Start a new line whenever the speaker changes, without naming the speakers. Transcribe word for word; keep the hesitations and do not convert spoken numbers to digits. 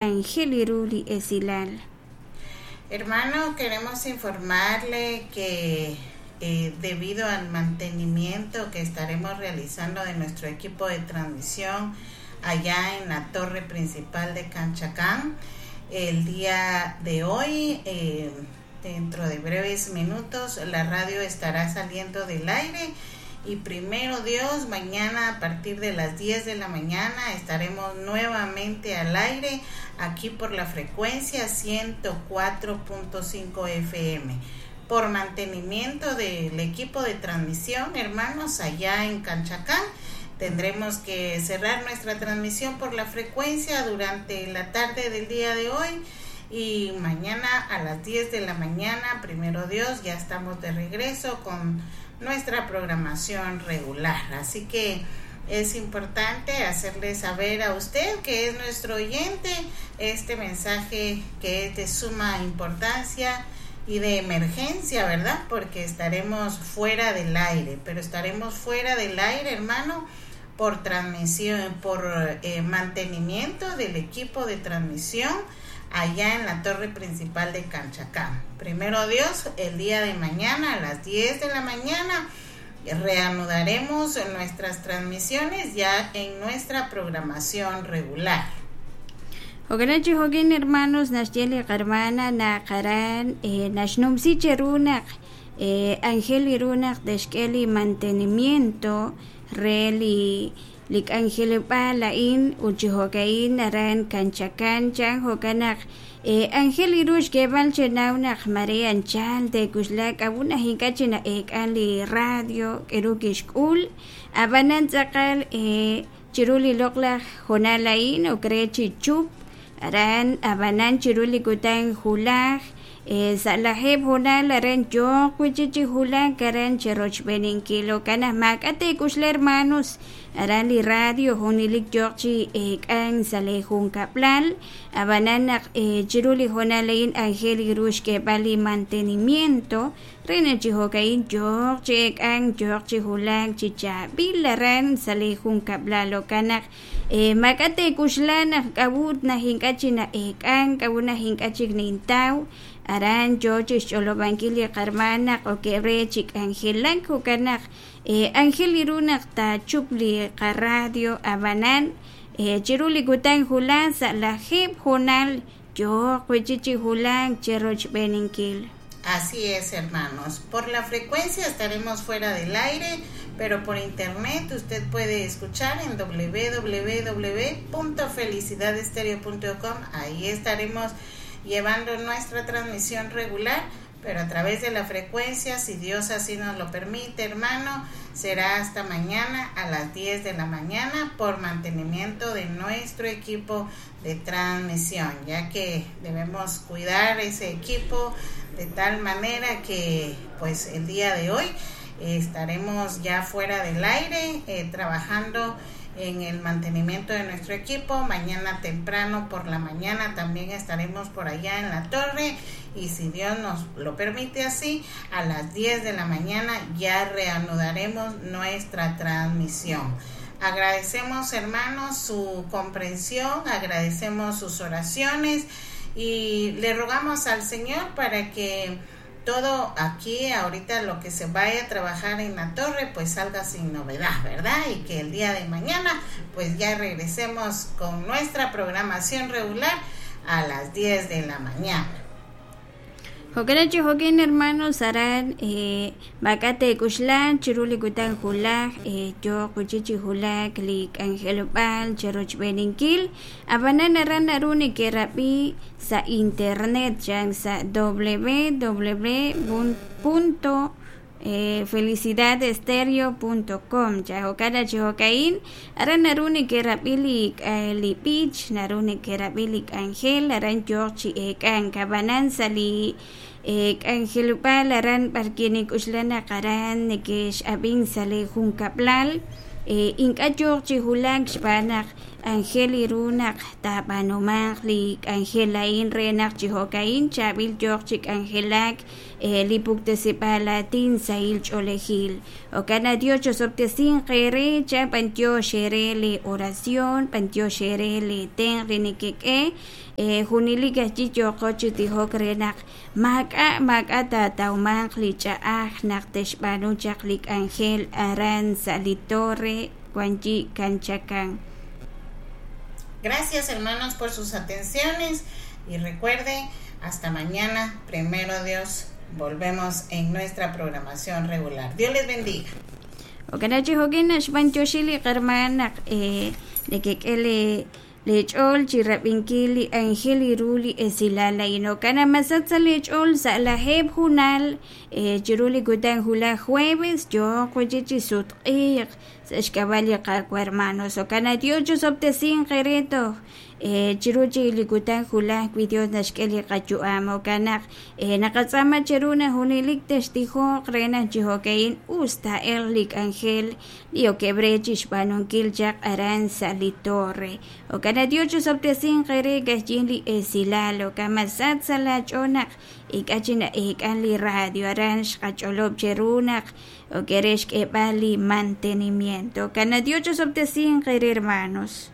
Aajel ru li esilal.
Hermano, queremos informarle que eh, debido al mantenimiento que estaremos realizando de nuestro equipo de transmisión allá en la torre principal de Canchacán, el día de hoy, eh, dentro de breves minutos, la radio estará saliendo del aire y primero Dios, mañana a partir de las diez de la mañana estaremos nuevamente al aire aquí por la frecuencia ciento cuatro punto cinco F M. Por mantenimiento del equipo de transmisión, hermanos, allá en Canchacán, tendremos que cerrar nuestra transmisión por la frecuencia durante la tarde del día de hoy y mañana a las diez de la mañana, primero Dios, ya estamos de regreso con nuestra programación regular. Así que es importante hacerle saber a usted que es nuestro oyente este mensaje que es de suma importancia y de emergencia, ¿verdad? Porque estaremos fuera del aire, pero estaremos fuera del aire, hermano, por transmisión, por, eh, mantenimiento del equipo de transmisión allá en la torre principal de Canchacán. Primero Dios, el día de mañana a las diez de la mañana reanudaremos nuestras transmisiones ya en nuestra programación regular.
Ojalá chijoquín, hermanos, nashyeli hermana, naqaran, eh, nashnumsi cherunak, eh, Ángel irunak, deshkeli mantenimiento, reli lik Ángel palain, uchijocaín, aran, canchacán, chan, jocanak, eh, Ángel irush kebal chenaunak, María anchal, de kuslak, abuna hinkachina ek ali radio, erukishkul, abanan tzakal, eh, chiruli lokla, jonalain, okrechi chup, aran, abanan chiruli kutan julaj, eh, salajeb jonal, aran yo, cuchichi julaj, aran cheroch beninkilo, canas macate kusle hermanos, aran li radio, jonilik yochi, eh, kan salejun kaplal, abanan, eh, chiruli jonalein, angel irush que vali mantenimiento, rena chijocain, yochi, kan, yochi julaj, chicha, bilaran, salejun kaplal, okanak, eh, macate kushlana, kabut, nahinkachina, eh, kan, kabuna hinkachik nintau, aran yochi xolobankili karmana okebre chik angelan jukanak eh, angel irunak ta chupli radio abanan eh, chiruli kutan julan sa la jeb jonal yo cuichichi julan cheroch beninkil.
Así es, hermanos, por la frecuencia estaremos fuera del aire, pero por internet usted puede escuchar en doble u doble u doble u punto felicidad estereo punto com. Ahí estaremos llevando nuestra transmisión regular, pero a través de la frecuencia, si Dios así nos lo permite, hermano, será hasta mañana a las diez de la mañana por mantenimiento de nuestro equipo de transmisión, ya que debemos cuidar ese equipo de tal manera que, pues, el día de hoy estaremos ya fuera del aire, eh, trabajando en el mantenimiento de nuestro equipo. Mañana temprano por la mañana también estaremos por allá en la torre y si Dios nos lo permite así, a las diez de la mañana ya reanudaremos nuestra transmisión. Agradecemos, hermanos, su comprensión, agradecemos sus oraciones y le rogamos al Señor para que todo aquí, ahorita lo que se vaya a trabajar en la torre, pues salga sin novedad, ¿verdad? Y que el día de mañana, pues ya regresemos con nuestra programación regular a las diez de la mañana.
Jokerachi jokin, hermanos, harán eh, bakate kushlan, chiruli kutan julaj, eh, yo kuchichi julaj, lik angelopal, cheroch beninkil, abanan aran aruni kerapi sa internet, chan sa doble u doble u punto eh, felicidad estereo punto com ya jokara chijokain aran naruni kerabilik eh, lipich naruni kerabilik angel aran yochi ekan kabanan sali eh, angelupal aran parkinik ushlana karan nekesh abin sale junkaplal eh, inka yochi hulak xpanak Aajel ru naq taab'aanumanq li k'anjel a'in re naq chi jo'ka'in chaab'il yooq chi k'anjelak li puktesib'aal aatin sahil ch'oolejil. Jo'kan naq Dios chosob'tesinq eere cha b'antiox eere li oración, b'antiox eere li tenq' li nekek'e junelik ajwi' yooqo chi tijok re naq maak'a' maak'a' taatawmanq li ch'a'aj naq te'xb'aanu chaq li k'anjel aran sa' li torre wanyi Canchacan.
Gracias, hermanos, por sus atenciones y recuerden, hasta mañana, primero Dios, volvemos en nuestra programación regular. Dios les bendiga.
Jo'kan chi jo'kin naxb'antioxi li qarman naq nekek'e le lech'ool chi rab'inkil li anjel ru li esilal a'in. Jo'kan naq masach sa' lech'ool sa' lajeeb' junal chiru li kutan julaj jueves yooq wiji chi sutq'iiq sa' xk'ab'a' li Qaawa' hermanos. Jo'kan naq Dios chosob'tesinq eere toj chiru chi li kutan julaj wi Dios naxk'e li qayu'am. Jo'kan naq naqatz'aama cheru naq junelik textijoq re naq chi jo'ka'in us taa'elq li k'anjel li okeb' re chixb'aanunkil chaq aran sa' li torre. Jo'kan naq Dios chosob'tesinq eere kajyin li esilal. Jo'kan masach sa' laach'ool naq ink'a' chi na'eek'an li radio aran xqach'olob' cheru naq okere xk'eeb'al li mantenimiento. Jo'kan naq Dios chosob'tesinq eere hermanos.